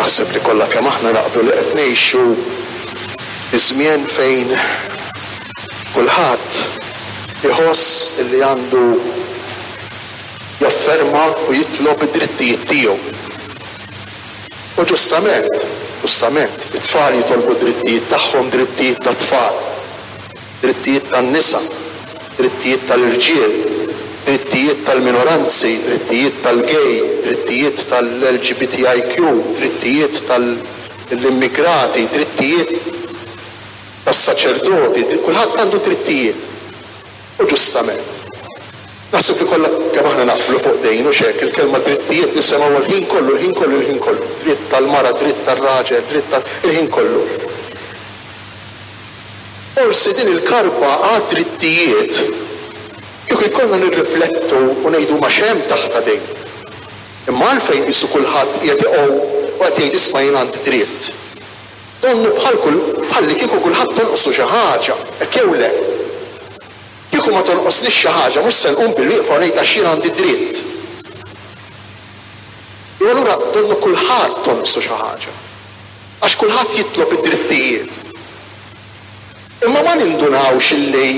Naħseb li kollha kemm aħna naqblu li qed ngħixu fi żmien fejn kulħadd iħoss li għandu jafferma u jitlob id-drittijiet tiegħu. U ġustament, ġustament, it-tfal jitolbu d-drittijiet tagħhom, drittijiet tat-tfal. drittijiet tan-nisa, drittijiet tal-irġiel, drittijiet tal-minoranzi, drittijiet tal-gay, drittijiet tal-LGBTIQ, drittijiet tal-immigrati, drittijiet tas-saċerdoti, kulħadd għandu drittijiet. U ġustament. Naħseb li kollha kemm aħna naqblu fuq din, hux hekk? Il-kelma drittijiet nisimgħuha l-ħin kollu, l-ħin kollu, l-ħin kollu. Dritt tal-mara, dritt tar-raġel, dritt tal-, il-ħin kollu. Forsi din il-karba għad-drittijiet, kieku jkollna nirriflettu u ngħidu ma x'hemm taħtha din? Imma għalfejn qisu kulħadd qiegħed iqgħum u qed jgħid isma' jien għandi dritt? Donnu bħal kull bħallikieku kulħadd tonqsu xi ħaġa, hekk jew le? Kieku ma tonqosnix xi ħaġa mhux se nqum bilwieqfa u ngħid għax jien għandi dritt. Jew allura donnu kulħadd tonqsu xi ħaġa. Għax kulħadd jitlob id-drittijiet. Imma ma nindunawx illi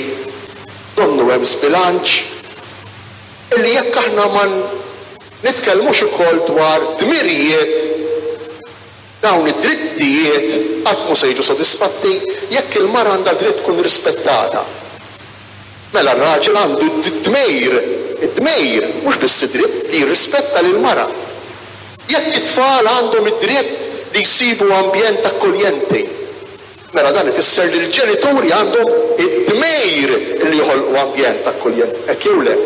donnu hemm żbilanċ? Illi jekk aħna ma nitkellmux ukoll dwar dmirijiet, dawn id-drittijiet qatt mhu se jiġu sodisfatti jekk il-mara għandha dritt tkun rispettata. Mela r-raġel għandu d-dmir, id-dmir, mhux biss id-dritt, li jirrispetta lill-mara. Jekk it-tfal għandhom id-dritt li jsibu ambjent akkoljenti, mela dan ifisser li l-ġenituri għandhom id-dmir li joħolqu ambjent akkoljenti, hekk jew le?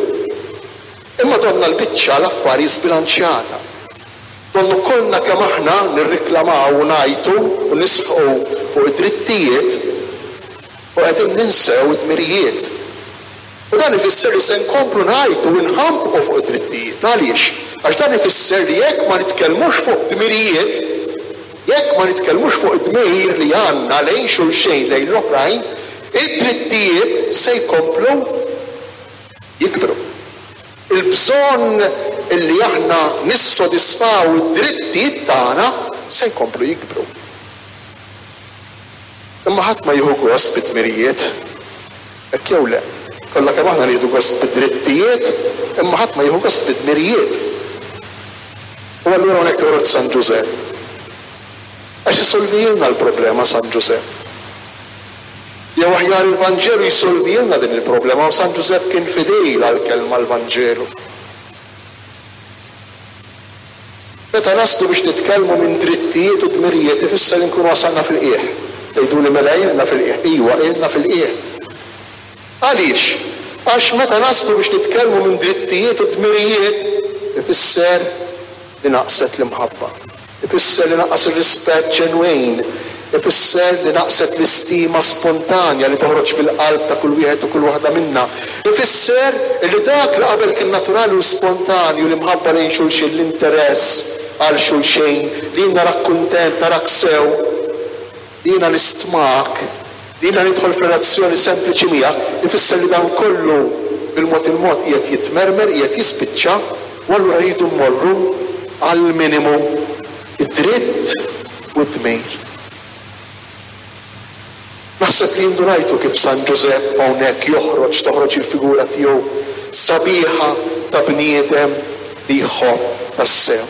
Imma donnha l-biċċa l-affari żbilanċjata. Donnu kollna kemm aħna nirriklamaw u ngħajtu u nisħqu fuq id-drittijiet u qegħdin ninsew id-dmirijiet. U dan ifisser li se nkomplu ngħajtu u nħambqu fuq id-drittijiet. Għaliex? Għax dan ifisser li jekk ma nitkellmux fuq dmirijiet, jekk ma nitkellmux fuq id-dmir li għandna lejn xulxejn, lejn l-oħrajn, id-drittijiet se jkomplu jikbru. Il-bżonn li aħna nissodisfaw id-drittijiet tagħna se jkomplu jikbru. Imma ħadd ma jieħu gost bid-dmirijiet. Hekk jew le? Kollha kemm aħna nieħdu gost bid-drittijiet, imma ħadd ma jieħu gost bid-dmirijiet. U allura hawnhekk joħroġ San Ġużepp. Għax isolvijilna l-problema San Ġużepp. Jew aħjar il-Vanġelu jsolvijilna din il-problema u San Ġużepp kien fidil għall-kelma l-Vanġelu. Meta naslu biex nitkellmu minn drittijiet u dmirijiet ifisser li nkunu wasalna fil-qiegħ. Tgħiduli mela ilna fil-qiegħ. Iwa, ilna fil-qiegħ. Għaliex? Għax meta naslu biex nitkellmu minn drittijiet u dmirijiet ifisser li naqset l-imħabba. Ifisser li naqas ir-rispett ġenwin. Ifisser li naqset l-istima spontanja li toħroġ mill-qalb ta' kull wieħed u kull waħda minna. Ifisser li dak li qabel kien naturali u spontanju, l-imħabba lejn xulxin, l-interess għal xulxejn, li jien narak kuntent, narak sew, li jiena nistmak, li jiena nidħol f'relazzjoni sempliċi miegħek, ifisser li dan kollu bil-mod il-mod qiegħed jitmermer, qiegħed jispiċċa, u allura rridu mmorru għall-minimu, id-dritt u d-dmir. Naħseb li indunajtu kif San Ġużepp hawnhekk joħroġ, toħroġ il-figura tiegħu sabiħa ta' bniedem li jħobb tassew.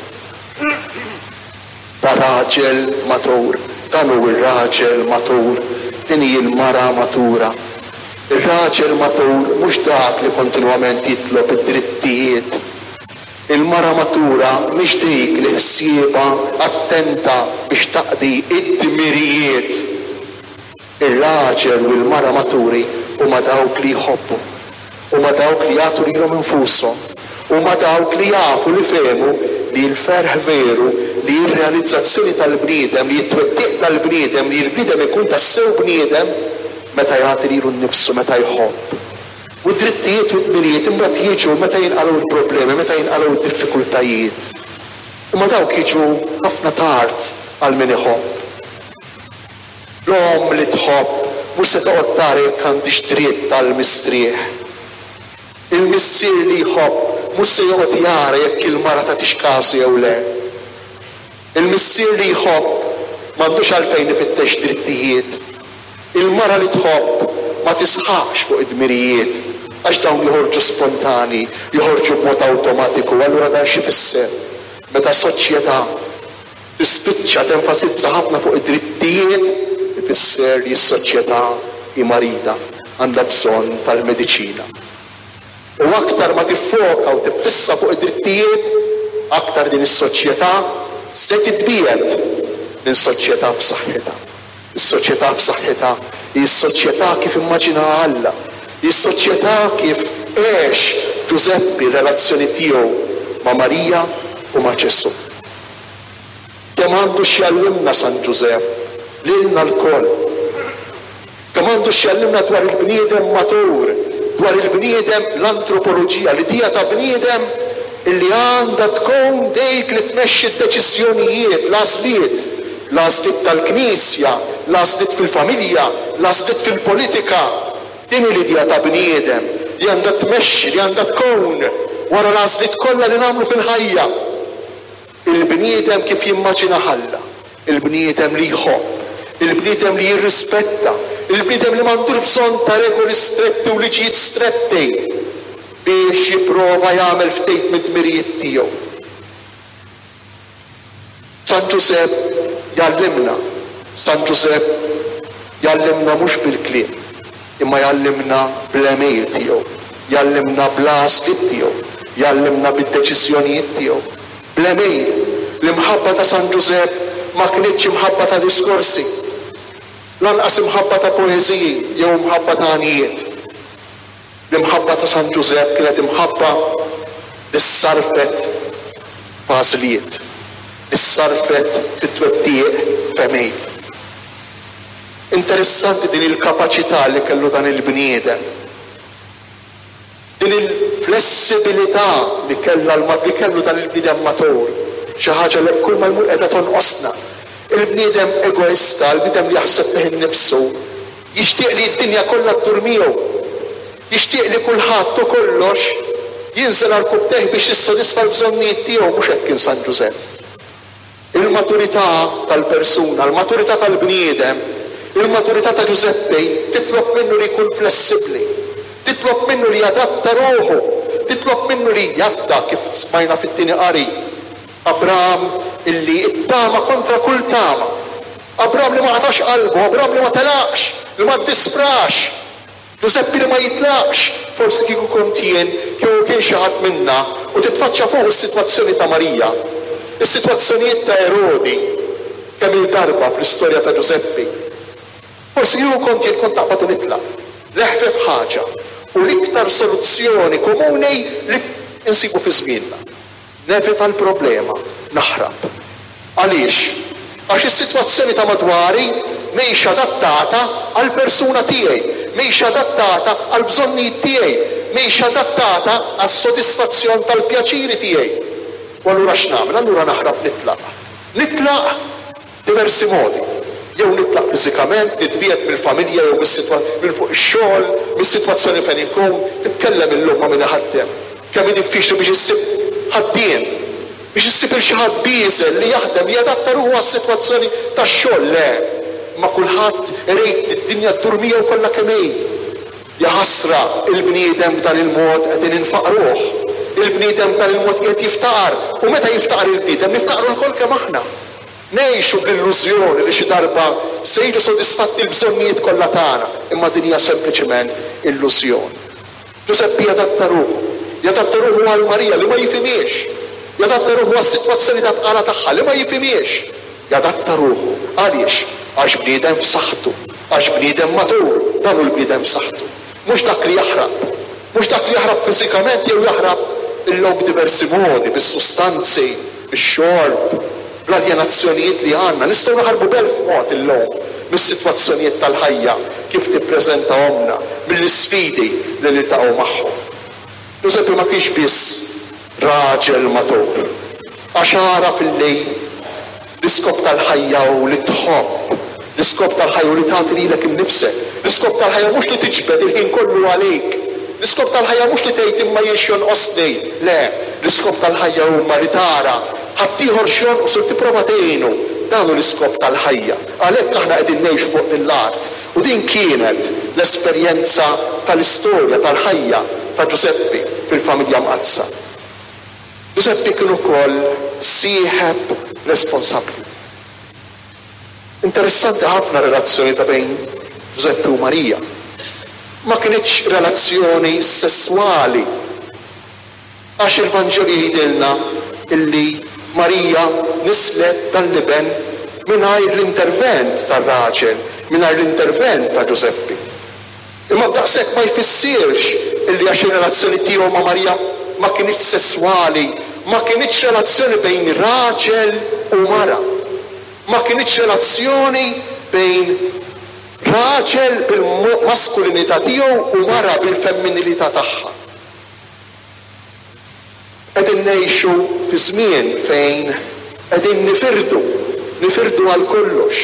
Ta' raġel matur. Dan hu r-raġel matur. Din hi l-mara matura. Ir-raġel matur mhux dak li kontinwament jitlob id-drittijiet Il-mara matura mhix dik li ħsiebha attenta biex taqdi d-dmirijiet. Ir-raġel u l-mara maturi huma dawk li jħobbu. Huma dawk li jagħtu lilhom infushom. Huma dawk li jafu, li fehmu li l-ferħ veru, li hi r-realizzazzjoni tal-bniedem, li hi t-twettiq tal-bniedem, li l-bniedem ikun tassew bniedem meta jagħti lilu nnifsu, meta jħobb. U d-drittijiet u d-dmirijiet imbagħad jiġu meta jinqalgħu l-problemi, meta jinqalgħu d-diffikultajiet. Imma dawk jiġu ħafna tard għal min iħobb. L-omm li tħobb mhux se toqgħod tara jekk għandhiex dritt għall-mistrieħ. Il-missier li jħobb mhux se joqgħod jara jekk il-mara tagħtix kasu jew le. Il-missier li jħobb m'għandux għalfejn ifittex drittijiet. Il-mara li tħobb ma tisħaqx fuq id-dmirijiet għax dawn joħorġu spontani, joħorġu b'mod awtomatiku. Allura dan x'ifisser? Meta soċjetà tispiċċa tenfasizza ħafna fuq id-drittijiet, ifisser li s-soċjetà hi marida, għandha bżonn tal-mediċina. U aktar ma tiffoka u tiffissa fuq id-drittijiet, aktar din is-soċjetà se titbiegħed minn soċjetà f'saħħitha. Is-soċjetà f'saħħitha hi s-soċjetà kif immaġinaha Alla, hi s-soċjetà kif għex Ġużeppi r-relazzjoni tiegħu ma' Marija u ma' Ġesù. Kemm għandu x'jgħallimna San Ġużepp lilna lkoll! Kemm għandu x'jgħallimna dwar il-bniedem matur, dwar il-bniedem, l-antropoloġija, l-idea ta' bniedem illi għandha tkun dik li tmexxi d-deċiżjonijiet, l-għażliet, l-għażliet tal-Knisja, l-għażliet fil-familja, l-għażliet fil-politika. Din hi l-idea ta' bniedem li għandha tmexxi, li għandha tkun wara l-għażliet kollha li nagħmlu fil-ħajja. Il-bniedem kif jimmaġinah Alla, il-bniedem li jħobb, il-bniedem li jirrispetta, il-bniedem li m'għandux bżonn ta' regoli stretti u liġijiet stretti biex jipprova jagħmel ftit mid-dmirijiet tiegħu. San Ġużepp jgħallimna, San Ġużepp jgħallimna mhux bil-kliem, imma jgħallimna bl-għemil tiegħu, jgħallimna bl-għażliet tiegħu, jgħallimna bid-deċiżjonijiet tiegħu. Bl-għemil, l-imħabba ta' San Ġużepp ma kinitx imħabba ta' diskorsi, lanqas imħabba ta' poeżiji jew imħabba ta' għanjiet. L-imħabba ta' San Ġużepp kienet imħabba li ssarrfet f'għażliet, li ssarrfet fi twettiq f'għemil. Interessanti din il-kapaċità li kellu dan il-bniedem, din il-flessibilità li kellha li kellu dan il-bniedem matur, xi ħaġa li kull ma jmur qiegħda tonqosna. Il-bniedem egoista, il-bniedem li jaħseb fih innifsu, jixtieq li d-dinja kollha ddur miegħu. Jixtieq li kulħadd u kollox jinżel għarkupptejh biex jissodisfa l-bżonnijiet tiegħu, mhux hekk kien San Ġużepp. Il-maturità tal-persuna, il-maturità tal-bniedem, il-maturità ta' Ġużeppi titlob minnu li jkun flessibbli, titlob minnu li jadatta ruħu, titlob minnu li jafda kif smajna fit-tieni qari, Abram illi ttama kontra kull tama, Abram li ma qatax qalbu, Abram li ma telaqx, li ma ddisprax. Ġużeppi li ma jitlaqx, forsi kieku kont jien, kieku kien xi ħadd minna, u titfaċċa fuqu s-sitwazzjoni ta' Marija, is-sitwazzjonijiet ta' Erodi, kemm-il darba fl-istorja ta' Ġużeppi. Forsi kieku kont jien kont naqbad u nitlaq. L-eħfef ħaġa u l-iktar soluzzjoni komuni li nsibu fi żmienna. Nevita l-problema, naħrab. Għaliex? Għax is-sitwazzjoni ta' madwari mhix adattata għall-persuna tiegħi, mhix adattata għall-bżonnijiet tiegħi, mhix adattata għas-sodisfazzjon tal-pjaċiri tiegħi. U allura x'nagħmel? Allura naħrab nitlaq. Nitlaq Diversi modi. Jew nitlaq fiżikament, nitbiegħed mill-familja jew mis-sitwa, minn fuq ix-xogħol, mis-sitwazzjoni fejn inkun. Titkellem illum ma' min iħaddem. Kemm hi diffiċli biex issib ħaddiem, biex issib 'il xi ħadd bieżel li jaħdem, li jadatta ruħu għas-sitwazzjoni tax-xogħol. Le, imma kulħadd irid li d-dinja ddur miegħu kollha kemm hi. Jaħasra, il-bniedem b'dan il-mod qegħdin infaqruh. Il-bniedem b'dan il-mod qiegħed jiftaqar. U meta jiftaqar il-bniedem, niftaqru lkoll kemm aħna. Ngħixu bl-illużjoni li xi darba se jiġu sodisfatti l-bżonnijiet kollha tagħna, imma din hija sempliċement illużjoni. Ġużeppi jadatta ruħu. Jadatta ruħu għal Marija li ma jifhimhiex. Jadatta ruħu għas-sitwazzjoni ta' tqala tagħha li ma jifhimhiex. Jadatta ruħu. Għaliex? Għax bniedem f'saħħtu. Għax bniedem matur. Dan hu l-bniedem f'saħħtu. Mhux dak li jaħrab. Mhux dak li jaħrab fiżikament jew jaħrab illum b'diversi modi, bis-sustanzi, bix-xorb, bl-aljenazzjonijiet li għandna. Nistgħu naħarbu b'elf mod illum mis-sitwazzjonijiet tal-ħajja kif tippreżentahomlna, mill-isfidi li niltaqgħu magħhom. Ġużeppi ma kienx biss raġel matur, għax għaraf illi l-iskop tal-ħajja hu li tħobb, l-iskop tal-ħajja hu li tagħti lilek innifsek, l-iskop tal-ħajja mhux li tiġbed il-ħin kollu għalik, l-iskop tal-ħajja mhux li tgħid imma jien x'jonqosni, le, l-iskop tal-ħajja huma li tara. ħaddieħor x'jonqsu tipprova tgħinu. Dan hu l-iskop tal-ħajja. Għalhekk aħna qegħdin ngħixu fuq din l-art. U din kienet l-esperjenza tal-istorja tal-ħajja ta' Ġużeppi fil-familja mqaddsa. Ġużeppi kien ukoll sieħeb responsabbli. Interessanti ħafna r-relazzjoni ta' bejn Ġużeppi u Marija. Ma kinitx relazzjoni sesswali għax il-Vanġelu jgħidilna illi Marija nislet dan l-iben mingħajr l-intervent tar-raġel, mingħajr l-intervent ta' Ġużeppi. Imma b'daqshekk ma jfissirx illi għax ir-relazzjoni tiegħu ma' Marija ma kinitx sesswali, ma kinitx relazzjoni bejn raġel u mara. Ma kinitx relazzjoni bejn raġel bil-maskulinità tiegħu u mara bil-femminilità tagħha. Qegħdin ngħixu fi żmien fejn qegħdin nifirdu, nifirdu għal kollox,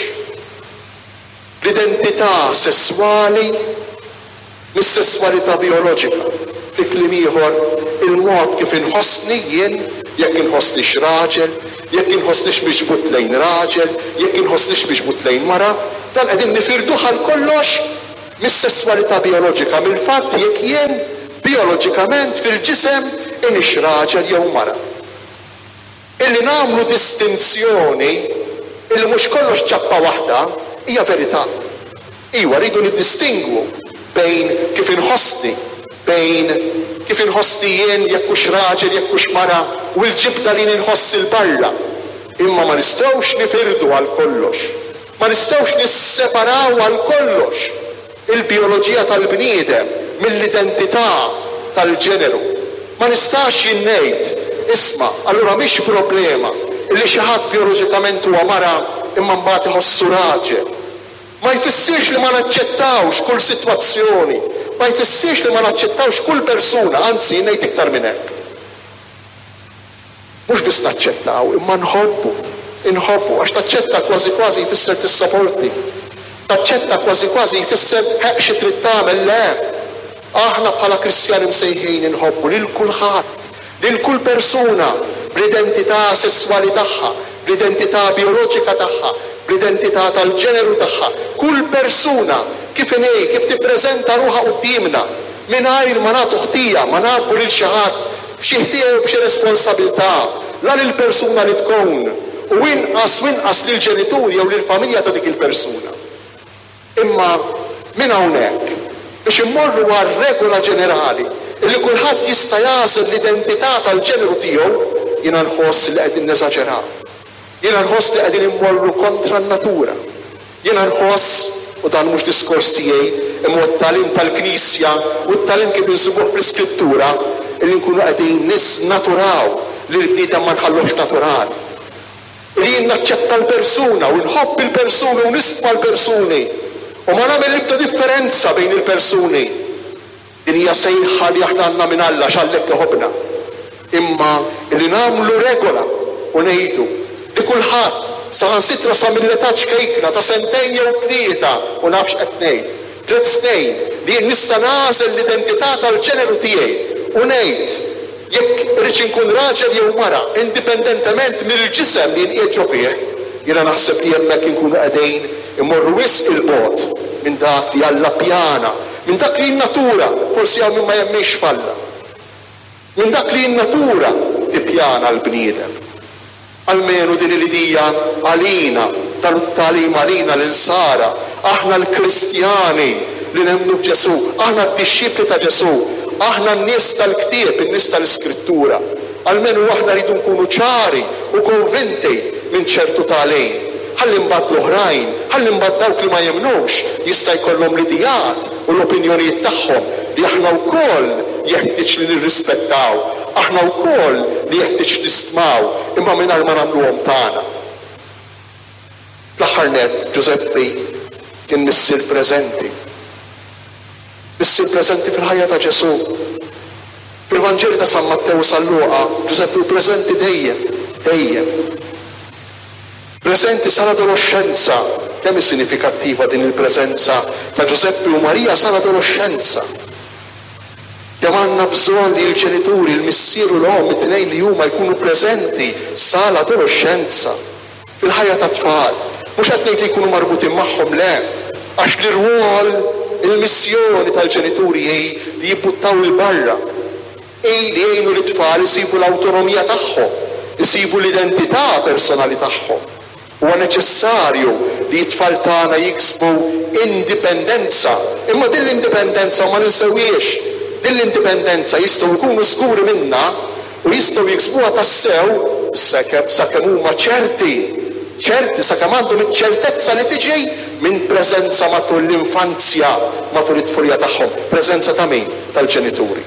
l-identità sesswali mis-sesswalità bijoloġika. Fi kliem ieħor, il-mod kif inħossni jien, jekk inħossnix raġel, jekk inħossnix miġbud lejn raġel, jekk inħossnix miġbud lejn mara, dan qegħdin nifirduh għal kollox mis-sesswalità bijoloġika, mill-fatt jekk jien bijoloġikament fil-ġisem inix raġel jew mara. Illi nagħmlu distinzjoni illi mhux kollox ċappa waħda hija verità. Iwa, rridu niddistingwu bejn kif inħossni, bejn kif inħossni jien jekk hux raġel jekk hux mara u l-ġibda li jien inħoss 'il barra. Imma ma nistgħux nifirdu għal kollox. Ma nistgħux nisseparaw għal kollox il-bijoloġija tal-bniedem mill-identità tal-ġeneru. Ma nistax jien ngħid, isma', allura mhix problema illi xi ħadd bijoloġikament huwa mara imma mbagħad iħossu raġel. Ma jfissirx li ma naċċettawx kull sitwazzjoni, ma jfissirx li ma naċċettawx kull persuna, anzi jien ngħid iktar minn hekk. Mhux biss naċċettaw, imma nħobbu. Inħobbu, għax taċċetta kważi kważi jfisser tissaporti. Taċċetta kważi kważi jfisser ħeqq xi trid tagħmel, le! Aħna bħala Kristjani msejħin inħobbu lil kulħadd, lil kull persuna bl-identità sesswali tagħha, bl-identità bijoloġika tagħha, bl-identità tal-ġeneru tagħha, kull persuna kif inhi, kif tippreżenta ruħha quddiemna, mingħajr ma nagħtu ħtija, ma ngħabbu lil xi ħadd b'xi ħtija jew b'xi responsabilità, la lill-persuna li tkun, u inqas u inqas lill-ġenituri jew lill-familja ta' dik il-persuna. Imma minn hawnhekk, biex immorru għal regola ġenerali illi kulħadd jista' jagħżel l-identità tal-ġeneru tiegħu, jiena nħoss li qegħdin neżaġeraw. Jiena nħoss li qegħdin immorru kontra n-natura. Jiena nħoss, u dan mhux diskors tiegħi, imma huwa t-tagħlim tal-Knisja u t-tagħlim kif insibuh fl-Iskrittura, illi nkunu qegħdin niżnaturaw lill-bniedem ma nħalluhx naturali. Illi jien naċċetta l-persuna u nħobb il-persuni u nistma l-persuni u ma nagħmel l-ebda differenza bejn il-persuni. Din hija sejħa li aħna għandna minn Alla għax Alla hekk iħobbna. Imma li nagħmlu regola u ngħidu li kulħadd, saħansitra sa mill-età ċkejkna ta' sentejn jew tlieta, u naf x'qed ngħid, tliet snin, li jien nista' nagħżel l-identità tal-ġeneru tiegħi u ngħid jekk irridx inkun raġel jew mara, indipendentement mill-ġisem li jien qiegħed ġo fih, jiena naħseb li hemmhekk inkunu qegħdin immorru wisq 'il bogħod minn dak li Alla ppjana Minn dak li n-natura, forsi hawn min ma jemminx f'Alla, minn dak li n-natura tippjana l-bniedem. Almenu din hi l-idija għalina, dan hu t-tagħlim għalina l-insara, aħna l-Kristjani li nemmnu f'Ġesù, aħna d-dixxipli ta' Ġesù, aħna n-nies tal-ktieb, in-nies tal-Iskrittura. Almenu aħna rridu nkunu ċari u konvinti minn ċertu tagħlim. Ħalli mbagħad l-oħrajn, ħalli mbagħad dawk li ma jemmnux jista' jkollhom l-ideat u l-opinjonijiet tagħhom li aħna wkoll jeħtieġ li nirrispettaw, aħna wkoll li jeħtieġ nistmaw imma mingħajr ma nagħmluhom tagħna. Fl-aħħar nett, Ġużeppi kien missier preżenti. Missier preżenti fil-ħajja ta' Ġesù. Fil-Vanġeli ta' San Mattew u San Luqa, Ġużeppi hu preżenti dejjem, dejjem. Preżenti sal-adoloxxenza. Kemm hi sinifikattiva din il-preżenza ta' Ġużeppi u Marija sal-adoloxxenza! Kemm għandna bżonn li l-ġenituri, il-missier u l-omm, it-tnejn li huma jkunu preżenti sa l-adoloxxenza fil-ħajja tat-tfal. Mhux qed ngħid li jkunu marbutin magħhom, le. Għax l-irwol, il-missjoni tal-ġenituri hi li jibbuttaw 'il barra. Hi li jgħinu lit-tfal isibu l-awtonomija tagħhom, isibu l-identità personali tagħhom. Huwa neċessarju li t-tfal tagħna jiksbu indipendenza. Imma din l-indipendenza, u ma ninsewhiex, din l-indipendenza jistgħu jkunu żguri minnha u jistgħu jiksbuha tassew sakemm huma ċerti, ċerti, sakemm għandhom iċ-ċertezza li tiġi minn preżenza matul l-infanzja, matul it-tfulija tagħhom. Preżenza ta' min? Tal-ġenituri.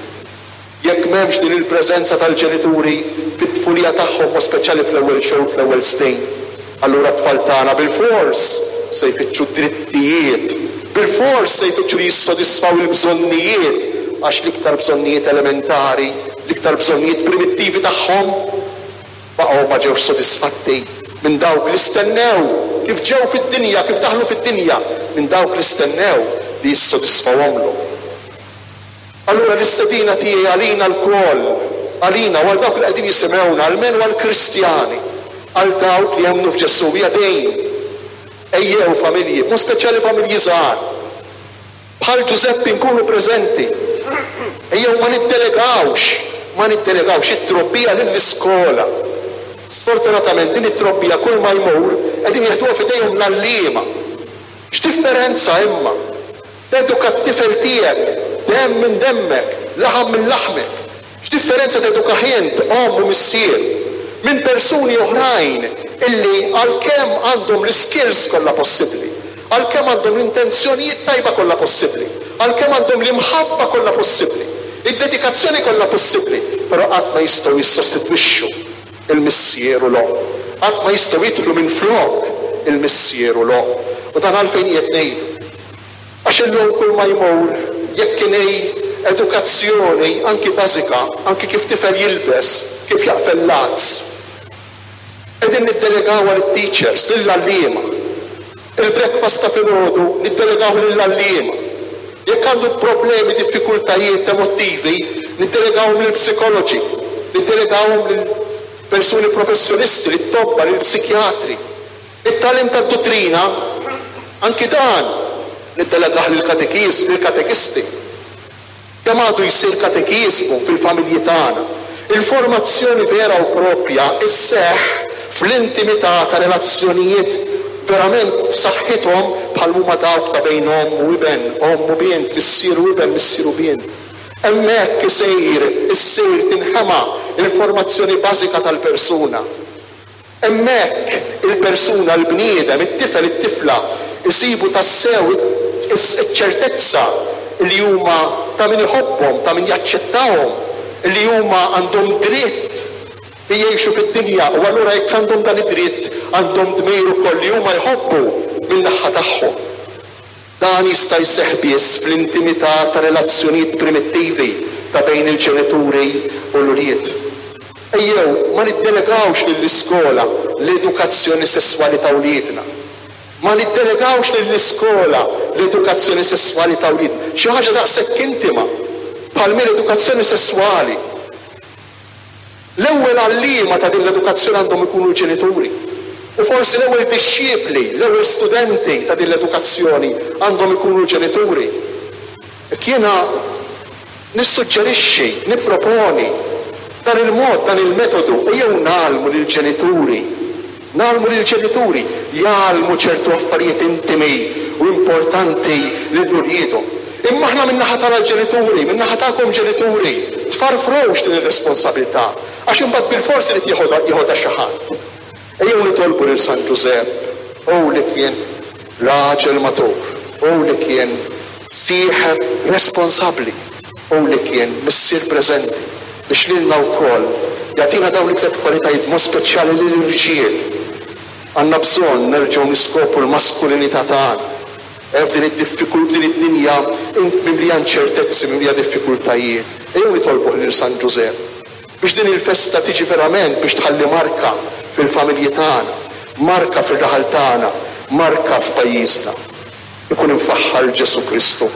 Jekk m'hemmx din il-preżenza tal-ġenituri fit-tfulija tagħhom mod speċjali fl-ewwel xhur, fl-ewwel snin, allura t-tfal tagħna bilfors se jfittxu d-drittijiet, bilfors se jfittxu li jissodisfaw il-bżonnijiet għax l-iktar bżonnijiet elementari, l-iktar bżonnijiet primittivi tagħhom baqgħu ma ġewx sodisfatti minn dawk li stennew kif ġew fid-dinja, kif daħlu fid-dinja, minn dawk li stennew li jissodisfawhomlhom. Allura l-istedina tiegħi għalina lkoll, għalina u għal dawk li qegħdin jisimgħuna, almenu għall-Kristjani, għal dawk li jemmnu f'Ġesù, hija din, Ejjew, familji, b'mod speċjali familji żgħar, bħal Ġużeppi nkunu preżenti. Ejjew ma niddelegawx, ma niddelegawx it-trobbija lill-iskola. Sfortunatament din it-trobbija kulma jmur qegħdin jeħduha f'idejhom l-għalliema. X'differenza imma! Teduka t-tifel tiegħek, demm minn demmek, laħam minn laħmek. X'differenza tedukah int, omm u missier, minn persuni oħrajn illi għalkemm għandhom l-iskills kollha possibbli, għalkemm għandhom l-intenzjonijiet tajba kollha possibbli, għalkemm għandhom l-imħabba kollha possibbli, id-dedikazzjoni kollha possibbli, però qatt ma jistgħu jissostitwixxu l-missier u l-omm. Qatt ma jistgħu jidħlu minflok il-missier u l-omm. U dan għalfejn qiegħed ngħidu? Għax illum kull ma jmur, jekk inhi edukazzjoni anki bażika, anki kif tifel jilbes, kif jaqfel l-għads, qegħdin niddelegawha lit-teachers, lill-għalliema. Il-breakfast ta' filgħodu niddelegawh lill-għalliema. Jekk għandu problemi, diffikultajiet emottivi, niddelegawhom lill-psikoloġi, niddelegawhom lil persuni professjonisti, lit-tobba, lill-psikjatri. It-tagħlim tad-duttrina, anki dan niddelegah lill-katekiż, lill-katekisti. Kemm għadu jsir katekiżmu fil-familji tagħna? Il-formazzjoni vera u proprja sseħħ fl-intimità ta' relazzjonijiet verament b'saħħithom bħal m'huma dawk ta' bejn omm u iben, omm u bint, missier u iben, missier u bint. Hemmhekk isir, issir, tinħema l-formazzjoni bażika tal-persuna. Hemmhekk il-persuna, il-bniedem, it-tifel, it-tifla, isibu tassew iċ-ċertezza li huma ta' min iħobbhom, ta' min jaċċettahom, li huma għandhom dritt li jgħixu fid-dinja u allura jekk għandhom dan id-dritt għandhom dmir ukoll li huma jħobbu min-naħa tagħhom. Dan jista' jseħħ biss fl-intimità ta' relazzjonijiet primittivi ta' bejn il-ġenituri u l-ulied. Ejjew ma niddelegawx lill-iskola l-edukazzjoni sesswali ta' wliedna. Ma niddelegawx lill-iskola l-edukazzjoni sesswali ta' wliedna. Xi ħaġa daqshekk intima bħal m'hi l-edukazzjoni sesswali. L-ewwel għalliema ta' din l-edukazzjoni għandhom ikunu l-ġenituri. U forsi l-ewwel dixxipli, l-ewwel studenti ta' din l-edukazzjoni għandhom ikunu l-ġenituri. Hekk jiena nissuġġerixxi, nipproponi dan il-mod, dan il-metodu, ejjew ngħallmu lill-ġenituri, ngħallmu lill-ġenituri jgħallmu ċertu affarijiet intimi u importanti lil uliedhom. Imma aħna min-naħa tagħna l-ġenituri, min-naħa tagħkom ġenituri, tfarfrux din ir-responsabilità, għax imbagħad bilfors irid jeħodha jeħodha xi ħadd. Ejjew nitolbu lil San Ġużepp, hu li kien raġel matur, hu li kien sieħeb responsabbli, hu li kien missier preżenti, biex lilna wkoll jagħtina dawn it-tliet kwalitajiet b'mod speċjali lill-irġiel. Għandna bżonn nerġgħu niskopru l-maskulinità tagħna. F'din id-diffikul f'din id-dinja mimlija inċertezzi, mimlija diffikultajiet, ejjew nitolbuh lil San Ġużepp biex din il-festa tiġi verament biex tħalli marka fil-familji tagħna, marka fir-raħal tagħna, marka f'pajjiżna. Ikun imfaħħar Ġesù Kristu.